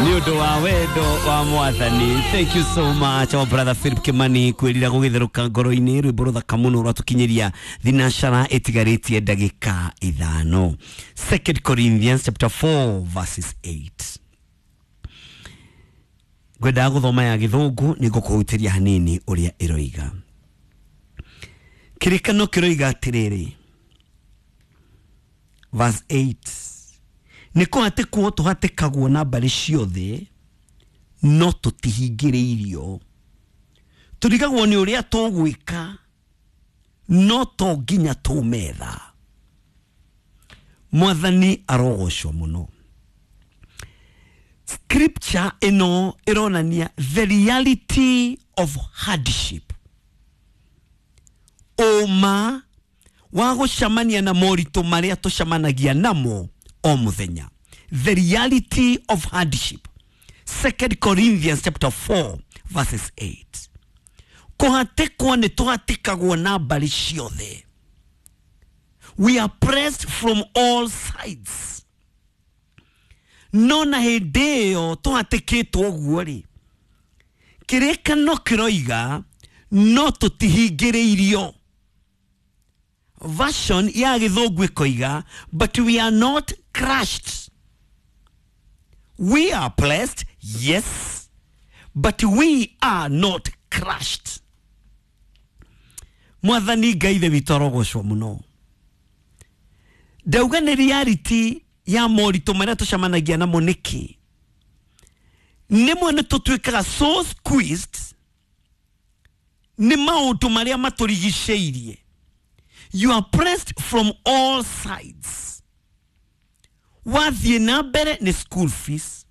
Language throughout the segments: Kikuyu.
Nĩ ũndũ wa wendo wa Mwathani. Thank you so much, our brother Philip Kimani, kwĩrira gũgĩtherũka ngoro-inĩ, rwĩmbo rũthaka mũno rwatũkinyĩria thinacara ĩtigarĩtie ndagĩka 5. 2 Corinthians chapter 4 verses 8. Ngwendaga gũthoma ya gĩthũngũ nĩ ngũkũhutĩria hanini ũrĩa ĩroiga. Kĩrĩkano kĩroiga atĩrĩrĩ, verse 8, nĩ kũhatĩkwo tũhatĩkagwo na mbarĩ ciothe no tũtihingĩrĩirio, tũrigagwo nĩ ũrĩa tũgwĩka no to nginya tũmetha. Mwathani arogocwo mũno. Scripture ĩno ĩronania the reality of hardship, ũma wa gũcemania na moritũ marĩa tũcemanagia namo o mũthenya. The reality of hardship, 2 Corinthians chapter 4 verses 8. Kũhatĩkwo nĩ tũhatĩkagwo na mbarĩ ciothe, we are pressed from all sides, no na hĩndĩ ĩyo tũhatĩkĩtwo ũguo rĩ, kĩrĩkano kĩroiga no tũtihingĩrĩirio. Version ya gĩthũngũ ĩkoiga, but we are not crushed. We are blessed, yes, but we are not crushed. Mwathani Ngai ithe witũ arogocwo mũno. Ndauga nĩ reality ya moritũ marĩa tũcemanagia namo. Nĩkĩ nĩmwe nĩ tũtuĩkaga so squeezed nĩ maũndũ marĩa matũrigicĩirie? You are pressed from all sides. Wathiĩ na mbere nĩ school fees,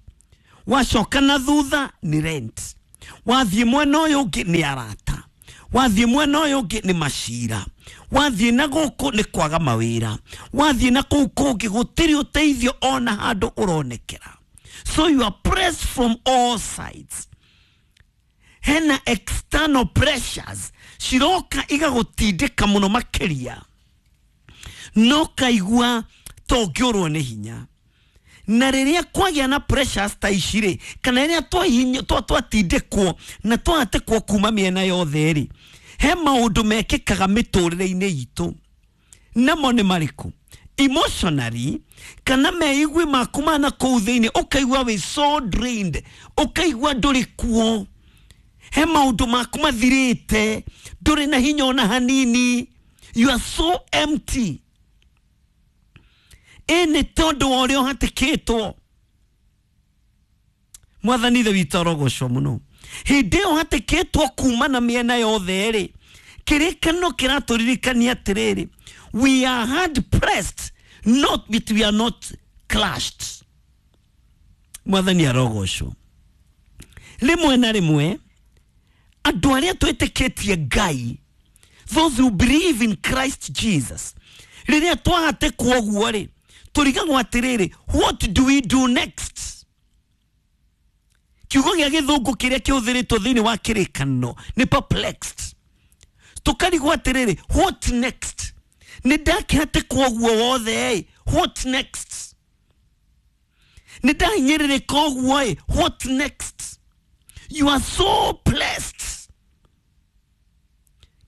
wacoka na thutha nĩ rent, wathiĩ mwena ũyũ ũngĩ nĩ arata, wathiĩ mwena ũyũ ũngĩ nĩ macira, wathiĩ na gũkũ nĩ kwaga mawĩra, wathiĩ na kũu kũngĩ gũtirĩ ũteithio ona handũ ũronekera. So you are pressed from all sides. Hena external pressures ciroka igagũtindĩka mũno makĩria, no kaigua tongĩũrwo nĩ hinya. Na rĩrĩa kwagĩa na pressures ta ici rĩ, kana rĩrĩa twatindĩkwo na twahatĩkwo kuma mĩena yothe rĩ, he maũndũ mekĩkaga mĩtũrĩre-inĩ itũ. Namo nĩ marĩkũ? Emotionally, kana meigwi maku ma na kũu thĩinĩ, ũkaigua wĩ so drained, ũkaigua ndũrĩ kuo, he maũndũ maku mathirĩte, ndũrĩ na hinya ona hanini, you are so empty. Ĩ nĩ tondũ wa ũrĩa ũhatĩkĩtwo. Mwathani ithe witũ arogocwo mũno. Hĩndĩ ĩyo ũhatĩkĩtwo kuma na mĩena yothe rĩ, kĩrĩkano kĩratũririkania atĩrĩrĩ, we are hard pressed not, but we are not crushed. Mwathani arogocwo. Rĩmwe na rĩmwe andũ arĩa twĩtĩkĩtie Ngai, those who believe in Christ Jesus, rĩrĩa twahatĩkwo ũguo rĩ, tũrigagwo atĩrĩrĩ, what do we do next? Kiugo gĩa gĩthũngũ kĩrĩa kĩhũthĩrĩtwo thĩinĩ wa kĩrĩkanĩro nĩ perplexed. Tũkarigwo atĩrĩrĩ, what next? Nĩ ndakĩhatĩkwo ũguo wothe ĩ, what next? Nĩ ndahinyĩrĩrĩka ũguo ĩ, what next? You are so blessed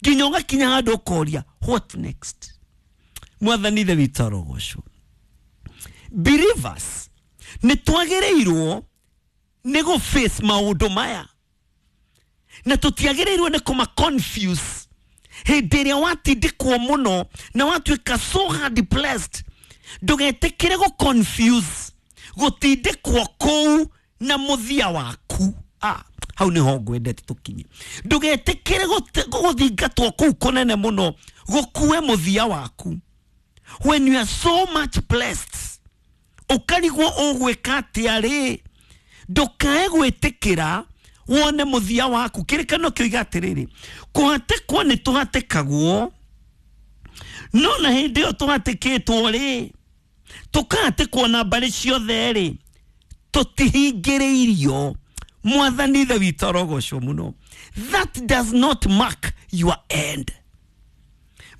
nginya ũgakinya handũ ũkoria, what next? Mwathani ithe witũ arogocwo. Believers nĩ twagĩrĩirwo nĩ gũ face maũndũ maya, na tũtiagĩrĩirwo nĩ kũma confuse. Hĩndĩ ĩrĩa watindĩkwo mũno na watuĩka so hard blessed, ndũgetĩkĩre gũ confuse gũtindĩkwo kũu na mũthia waku. Ah, hau nĩho ngwendete tũkinye. Ndũgetĩkĩre gũthingatwo kũu kũnene mũno gũkue mũthia waku. When you are so much blessed, ũkarigwo ũgwĩka atĩa rĩ, ndũkae gwĩtĩkĩra wone mũthia waku. Kĩrĩkano kĩoiga atĩrĩrĩ, kũhatĩkwo nĩ tũhatĩkagwo, no na hĩndĩ ĩyo tũhatĩkĩtwo rĩ, tũkahatĩkwo na mbarĩ ciothe rĩ, tũtihingĩrĩirio. Mwathani ithe witũ arogocwo mũno. That does not mark your end,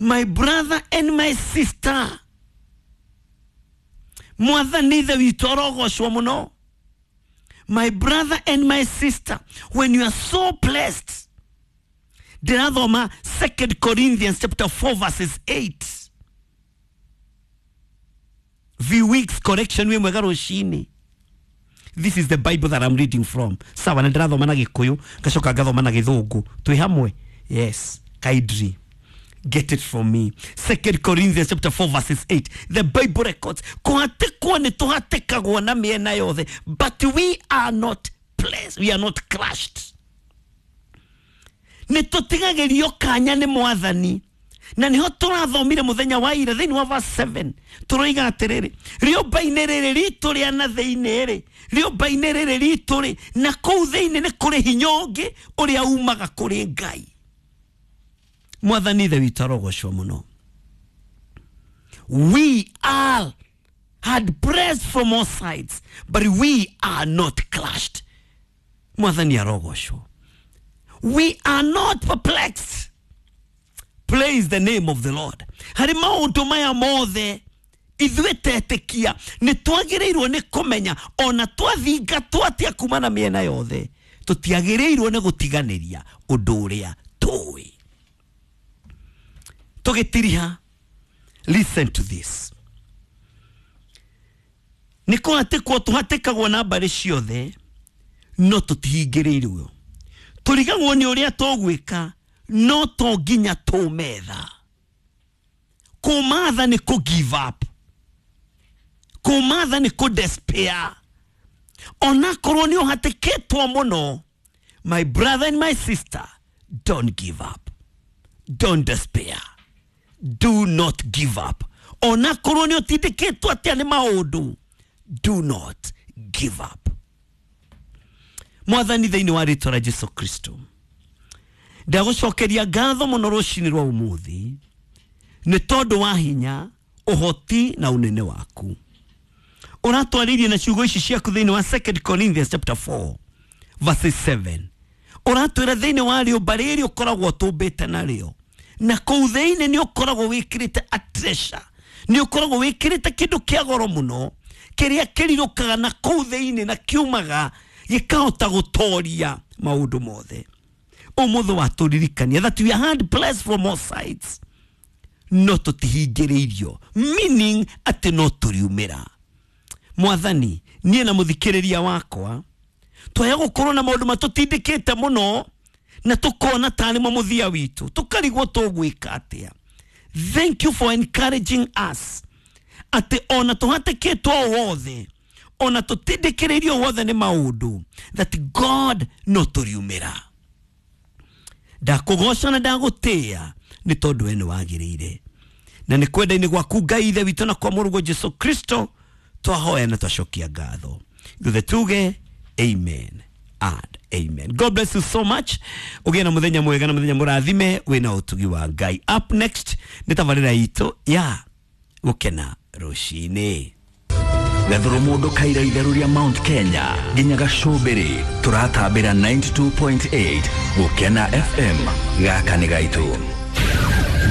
my brother and my sister. Mwathani ithe witũ arogocwo mũno. My brother and my sister, when you are so blessed, ndĩrathoma 2 Corinthians chapter 4 verses 8. V weeks correction wĩ mwega rũcinĩ. This is the Bible that I'm reading from. Sawa, na ndĩrathoma na Gĩkũyũ, ngacoka ngathoma na Gĩthũngũ. Twĩ hamwe? Yes, kindly. Get it from me. 2 Corinthians chapter 4 verses 8. The Bible records, kũhatĩkwo nĩ tũhatĩkagwo na mĩena yothe, but we are not blessed. We are not crushed. Nĩ tũtigagĩrio kanya nĩ Mwathani. Na niho tũrathomire mũthenya wa ira thĩinĩ wa verse 7 tũroiga atĩrĩrĩ, rĩũmba-inĩ rĩrĩ ritũ rĩa na thĩinĩ rĩ, rĩũmba-inĩ rĩrĩ ritũ rĩ, na kũu thĩinĩ nĩ kũrĩ hinya ũngĩ ũrĩa umaga kũrĩ Ngai. Mwathani Ithe witũ arogocwo mũno. We are had pressed from all sides, but we are not crushed. Mwathani arogocwo. We are not perplexed. Praise the name of the Lord. Harĩ maũndũ maya mothe ithuĩ tetĩkia nĩ twagĩrĩirwo nĩ kũmenya ona twathingatwo atĩa kuma na mĩena yothe, tũtiagĩrĩirwo nĩ gũtiganĩria ũndũ ũrĩa tũĩ. Tũgĩtiriha, listen to this. Nĩ kũhatĩkwo tũhatĩkagwo na mbarĩ ciothe, no tũtihingĩrĩirwo. Tũrigagwo nĩ ũrĩa tũgwĩka, no to nginya tũmetha. Kũmatha nĩ kũ give up. Kũmatha nĩ kũ despair. Onakorwo nĩ ũhatĩkĩtwo mũno, my brother and my sister, don't give up. Don't despair. Do not give up. Onakorwo nĩ ũtindĩkĩtwo atĩa nĩ maũndũ, do not give up. Mwathani thĩinĩ wa rĩtwa rĩa Jesu Kristo, ndagũcokeria ngatho mũno rũcinĩ rwa ũmũthĩ nĩ tondũ wa hinya, ũhoti na ũnene waku. Ũratwarĩirie na ciugo ici ciaku thĩinĩ wa 2 Corinthians chapter 4 verse 7. Ũratwĩra thĩinĩ wa rĩũmba rĩrĩ ũkoragwo ũtũmbĩte narĩo, na kũu thĩinĩ nĩ ũkoragwo wĩkĩrĩte a treasure, nĩ ũkoragwo wĩkĩrĩte kĩndũ kĩa goro mũno kĩrĩa kĩrirũkaga na kũu thĩinĩ na kiumaga gĩkahota gũtoria maũndũ mothe. Ũmũthĩ watũririkania that we are hard blessed from all sides, no tũtihingĩrĩirio, meaning atĩ no tũriumĩra. Mwathani, niĩ na mũthikĩrĩria wakwa twaya gũkorwo na maũndũ matũtindĩkĩte mũno na tũkona tarĩ mo mũthia witũ, tũkarigwo tũgwĩka atĩa. Thank you for encouraging us atĩ ona tũhatĩkĩtwo o wothe, ona tũtindĩkĩrĩirio wothe nĩ maũndũ, that God no tũriumĩra. Ndakũgoca na ndagũtĩĩa nĩ tondũ we nĩ wagĩrĩire, na nĩ kwenda-inĩ gwaku Ngai Ithe witũ na kwa Mũrũguo Jesu Kristo twahoya na twacokia ngatho. Ithuothe tuge amen and amen. God bless you so much. Ũgĩe na mũthenya mwega na mũthenya mũrathime wĩna ũtugi wa Ngai. Up next nĩ tabarĩra itũ ya Gũkena Rũcinĩ. Gathuru mundu kaira itheru ria Mount Kenya nginya gacumbiri turatambira 92.8 Gukena FM gaka ni gaitu.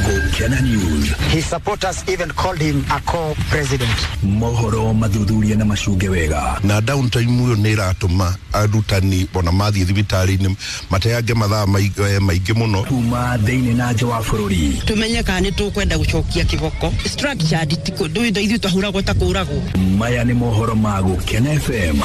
Gukena News. His supporters even called him a co-president. Mohoro mathuthuria na macunge wega. Na downtime uyo nĩ ĩratũma arutani ona mathiĩ thibitarĩ-inĩ mateange mathaa maingĩ mũno. Kuma thĩinĩ na nja wa bũrũri. Tumenye kana nĩ tũkwenda gũcokia kĩboko. Structured ti kũndũ ithuĩ twahũragwo ta kũragwo. Maya nĩ mohoro ma Gukena FM.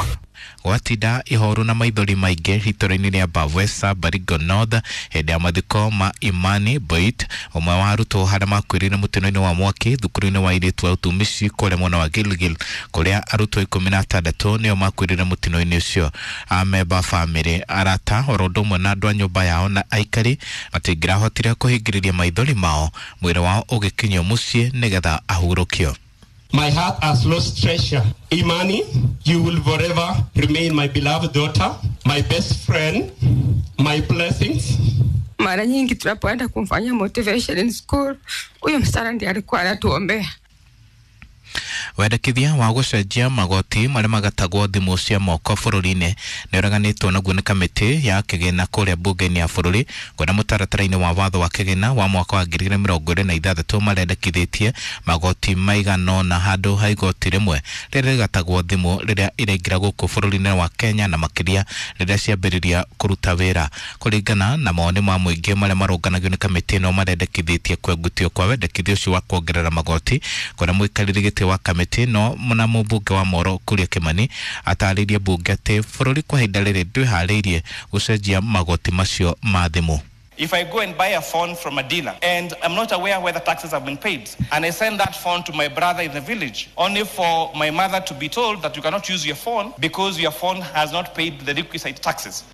Gwatinda ihoru na maithori maingĩ itũra-inĩ rĩa Bavwesa, Baringo North hĩndĩ ya mathiko ma Imani Boit, ũmwe wa arutwo arĩa makuĩrĩire mũtino-inĩ wa mwaki thukuru-inĩ wa airĩtu a ũtumishi kũrĩa mwena wa Gilgil, kũrĩa arutwo 16 nĩo makuĩrĩire mũtino-inĩ ũcio. Amemba bamĩrĩ, arata oro ũndũ ũmwe na andũ a nyũmba yao na aikari matingĩrahotire kũhingĩrĩria maithori mao, mwĩrĩ wao ũgĩkinyio mũciĩ nĩgetha ahurũkio. My heart has lost treasure. Imani, you will forever remain my beloved daughter, my best friend, my blessings. Mara nyingi tunapoenda kumfanyia motivation in school, huyo msichana ndiye alikuwa anatuombea. Wendekithia wa gũcenjia magoti marĩa magatagwo thimũ cia moko bũrũri-inĩ nĩ ũreganĩtwo naguo nĩ kamĩtĩ ya kĩgĩna kũrĩa mbunge-inĩ ya bũrũri, kuona mũtaratara-inĩ wa watho wa kĩgĩna wa mwaka wa 2026 marendekithĩtie magoti maigana ũna handũ ha igoti rĩmwe rĩrĩa rĩgatagwo thimũ rĩrĩa iraingĩra gũkũ bũrũri-inĩ wa Kenya, na makĩria rĩrĩa ciambĩrĩria kũruta wĩra. Kũringana na mawoni ma mũingĩ marĩa marũnganagio nĩ kamĩtĩ ĩno, marendekithĩtie kwengutio kwa wendekithia ũcio wa kuongerera magoti, kuona mũikarĩri gĩtĩ wa kamĩtĩ ĩno na mũmbunge wa Moro Kuria Kimani atarĩirie mbunge atĩ bũrũri kwa ihinda rĩrĩ ndwĩharĩirie gũcenjia magoti macio ma thimũ. If I go and buy a phone from a dealer and I'm not aware whether taxes have been paid, and I send that phone to my brother in the village, only for my mother to be told that you cannot use your phone because your phone has not paid the requisite taxes.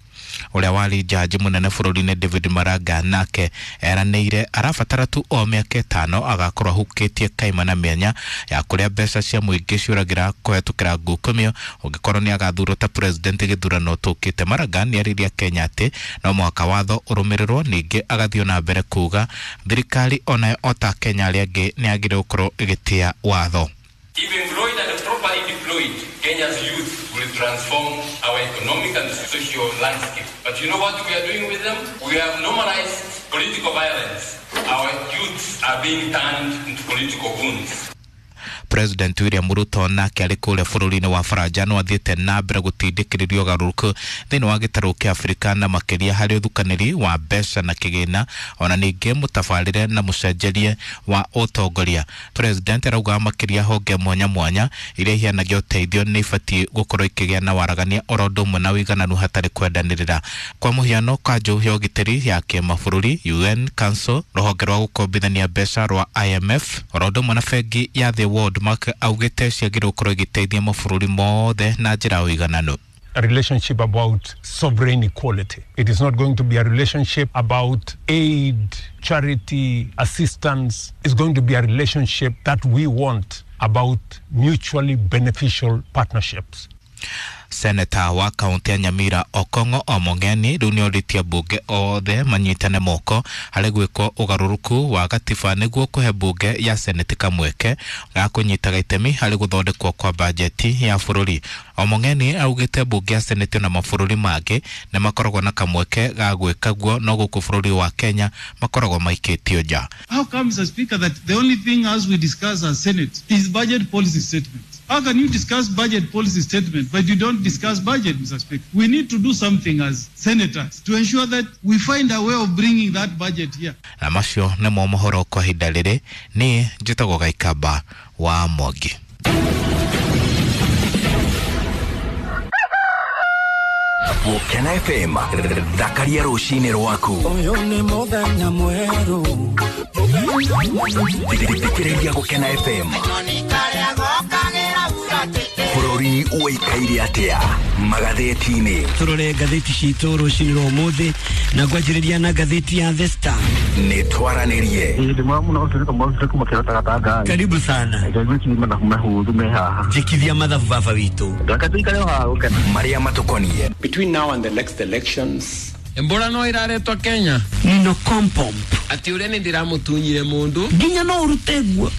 Ũrĩa warĩ jaji mũnene bũrũri-inĩ David Maraga nake eranĩire arabatara tu o mĩaka 5 agakorwo ahukĩtie kaimana mĩanya ya kũrĩa mbeca cia mũingĩ ciũragĩra kũhetũkĩra ngukumio ũngĩkorwo nĩ agathurwo ta president gĩthurano tũkĩte. Maraga nĩ arĩirie Kenya atĩ no mũhaka watho ũrũmĩrĩrwo, ningĩ agathiĩ na mbere kuga thirikari onayo ota Kenya arĩa angĩ nĩ yagĩrĩirwo gũkorwo ĩgĩtĩa watho. If employed and properly deployed, Kenya's youth will transform our economic and social landscape. But you know what we are doing with them? We have normalized political violence. Our youths are being turned into political goons. President William Ruto nake arĩ kũrĩa bũrũri-inĩ wa Faranja no athiĩte na mbere gũtindĩkĩrĩria ũgarũrũku thĩinĩ wa gĩtarũ kĩa Afrika, na makĩria harĩ ũthukanĩri wa mbeca na kĩgĩna, ona ningĩ mũtabarĩre na mũcenjerie wa ũtongoria. President arauga makĩria honge mwanya mwanya iria iheanagia ũteithio nĩ ibatiĩ gũkorwo ikĩgĩa na waragania oro ũndũ ũmwe na ũigananu hatarĩ kwendanĩrĩra. Kwa mũhiano, kanjũ ya ũgitĩri ya kĩmabũrũri UN Council, rũhonge rwa gũkombithania mbeca rwa IMF, oro ũndũ ũmwe na bengi ya The World Bank augĩte ciagĩrĩirwo gũkorwo igĩteithia mabũrũri mothe na njĩra ya ũigananu. A relationship about sovereign equality. It is not going to be a relationship about aid, charity, assistance. It's going to be a relationship that we want about mutually beneficial partnerships. Seneta wa kaunti ya Nyamira Okong'o Omong'eni rĩu nĩorĩtie mbunge othe manyitane moko harĩ gwĩkwo ũgarũrũku wa gatiba nĩguo kũhe mbunge ya seneti kamweke ga kũnyitaga itemi harĩ gũthondekwo kwa bajeti ya bũrũri. Omong'eni augĩte mbunge ya seneti na mabũrũri mangĩ nĩ makoragwo na kamweke ga gwĩka guo, no gũkũ bũrũri wa Kenya makoragwo maikĩtio nja. How comes, Mr. Speaker, that the only thing as we discuss as Senate is budget policy statement? How can you discuss budget policy statement but you don't discuss budget, Mr. Speaker? We need to do something as senators to ensure that we find a way of bringing that budget here. Na macio nĩmo mohoro kwa ihinda rĩrĩ. Niĩ njĩtagwo Gaikamba wa Mwangi. Gũkena FM, thakaria rũcinĩ rwaku. Ũyũ nĩ mũthenya mwerũ. Thikĩrĩria Gũkena FM. Bũrũri ũikaire atĩa magathĩti-inĩ? Tũrore ngathĩti citũ rũcinĩ rwa ũmũthĩ na ngwanjĩrĩria na ngathĩti ya The Star. Nĩ twaranĩrie. Karibu sana. Njĩkithia mathabu baba witũ. Marĩa matũkoniĩ. Between now and the next elections, Embora no iraretwo Kenya. Nino kompomp. Ati ũrĩa nĩ ndĩramũtunyire mũndũ. Nginya no ũrute guo.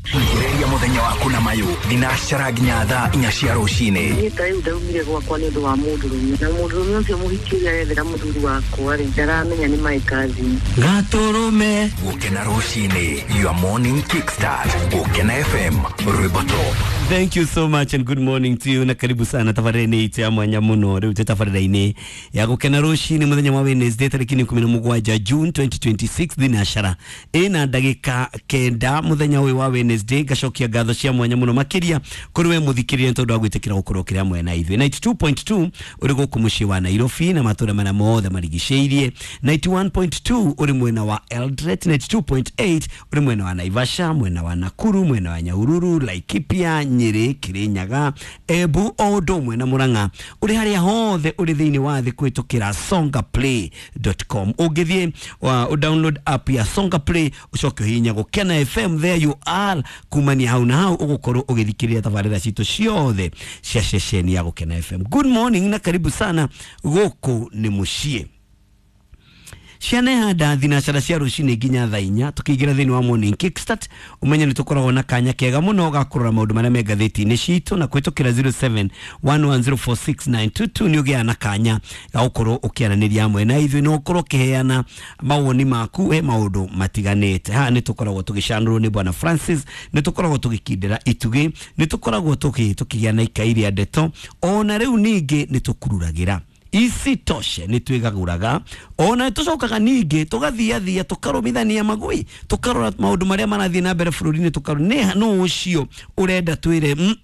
Thikĩrĩria mũthenya waku na mayũ thinacara nginya thaa 4 cia rũcinĩ. Niĩ ta rĩu ndaumire gwakwa nĩ ũndũ wa mũndũrũme, na mũndũrũme ũcio mũhiki ũrĩa arethera mũthuri wakwa rĩ, ndaramenya nĩ my cousin. Gatũrũme. Gũkena rũcinĩ, your morning kickstart. Gũkena FM, rwĩmbo top. Thank you so much and good morning to you, na karibu sana tabarĩra-inĩ itũ ya mwanya mũno. Rĩu twĩ tabarĩra-inĩ ya gũkena rũcinĩ mũthenya wa Wednesday tarĩki 17 June 2026 thinacara ĩna ndagĩka 9 mũthenya ũyũ wa Wednesday. Ngacokia ngatho cia mwanya mũno makĩria kũrĩ we mũthikĩrĩria tondũ wa gwĩtĩkĩra gũkorwo ũkĩrĩ hamwe na ithuĩ. 92.2 ũrĩ gũkũ mũciĩ wa Nairobi na matũũra marĩa mothe marigicĩirie, 91.2 ũrĩ mwena wa Eldoret, 92.8 ũrĩ mwena wa Naivasha, mwena wa Nakuru, mwena wa Nyahururu, Laikipia, Nyeri, Kirinyaga, Embu o ũndũ ũmwe na Murang'a. Ũrĩ harĩa hothe ũrĩ thĩinĩ wa thĩ kũhĩtũkĩra songaplay.com. Ũngĩthiĩ download app ya Songa Play ũcoke ũhihinye Gũkena FM, there you are. Kumania hau na hau ũgũkorwo ũgĩthikĩrĩria tabarĩra citũ ciothe cia ceceni ya Gũkena FM. Good morning na karibu sana gũkũ nĩ mũciĩ. Ciana ihanda thinacara cia rucini nginya thaa inya tukiingira thiini wa morning kickstart umenye ni tukoragwo na kanya kega muno ga kurora maundu maria me ngathĩti-inĩ citũ na kũhĩtũkĩra 0711046922 nĩ ũgĩaga na kanya ga gũkorwo ũkĩaranĩria hamwe na ithuĩ na ũkorwo ũkĩheana mawoni maku he maũndũ matiganĩte. Haha nĩ tũkoragwo tũgĩcanũrwo nĩ Bwana Francis, nĩ tũkoragwo tũgĩkindĩra itugĩ, nĩ tũkoragwo tũkĩgĩa na ikai rĩa ndeto, ona rĩu ningĩ nĩ tũkururagĩra isitoshe nĩ twĩgagũraga ona tũcokaga ningĩ tũgathiathia tũkarũmithania magui tũkarora maũndũ marĩa marathiĩ na mbere bũrũri-inĩ tũkarora nĩ nũ ũcio ũrenda twĩre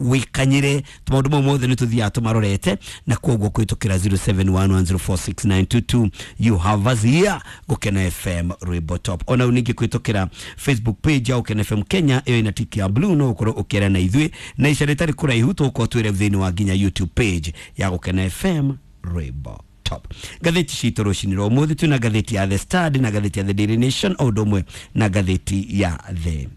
wĩkanyĩre maũndũ mau mothe nĩ tũthiaga tũmarorete na koguo kũhĩtũkĩra 0711046922 you have us here Gũkena FM Rwĩmbo Top. Ona rĩu ningĩ kũhĩtũkĩra Facebook page ya Gũkena FM Kenya ĩyo ĩna tiki ya blue no ũkorwo ũkĩaria na ithuĩ na ica rĩtarĩ kũraihu tũgũkorwo twĩre thĩinĩ wa nginya YouTube page ya Gũkena FM Rwĩmbo Top. Ngathĩti citũ rũcinĩ rwa ũmũthĩ twĩna ngathĩti ya The Standard na ngathĩti ya The Daily Nation o ũndũ ũmwe na ngathĩti ya The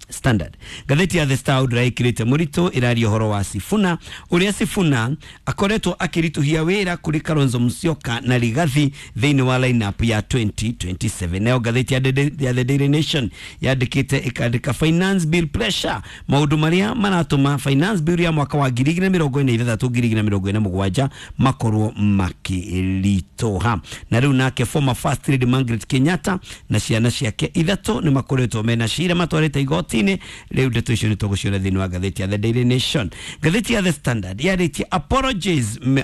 Standard. Ngathĩti ya The Star ndĩraĩkĩrĩte mũritũ ĩraria ũhoro wa Sifuna ũrĩa Sifuna akoretwo akĩritũhia wĩra kũrĩ Kalonzo Musyoka na Rigathi thĩinĩ wa lineup ya 2027. Nayo ngathĩti ya The Daily Nation yandĩkĩte ĩkandĩka finance bill pressure, maũndũ marĩa maratũma finance bill ya mwaka wa 2026 2027 makorwo makĩritũha. Na rĩu nake former first lady Margaret Kenyatta na ciana ciake ithatũ nĩ makoretwo mena cira matwarĩte igoti rĩu ndeto icio nĩ tũgũciona thĩinĩ wa ngathĩti ya The Daily Nation. Ngathĩti ya The Standard yarĩtie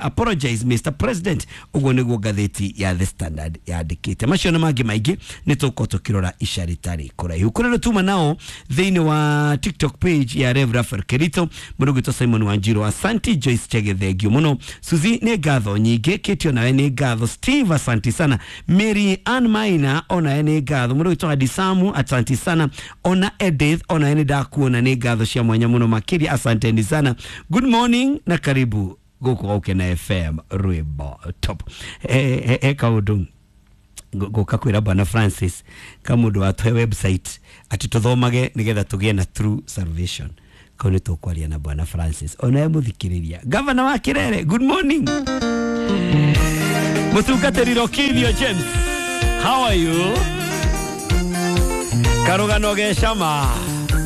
apologize Mr President, ũguo nĩguo ngathĩti ya The Standard yandĩkĩte. Macio na mangĩ maingĩ nĩ tũgũkorwo tũkĩrora ica rĩtarĩ kũraihu. Kũrĩa tuma nao thĩinĩ wa TikTok page ya Rev Raphael Kerito, mũndũ ũgwĩtwo Simon Wanjiru, asanti. Joyce Chege, thengio mũno. Suzy nĩ ngatho nyingĩ. Kate onawe nĩ ngatho. Steve asanti sana. Mary Ann Maina onawe nĩ ngatho. Mũndũ ũgwĩtwo Hadisamu asanti sana. Ona Edith ona nĩ ndakuona nĩ ngatho cia mwanya mũno makĩria, asanteni sana. Good morning na karibu gũkũ Gũkena FM Rwĩmbo Top. He kaũndũ ngũka kwĩra Bwana Francis kamũndũ watũhe website atĩ tũthomage nĩgetha tũgĩe na true salvation. Kau nĩ tũkwaria na Bwana Francis onawe mũthikĩrĩria. Gavana wa Kirere, good morning. Mũtungatĩri Rokithio James, how are you? Karũgano ge cama.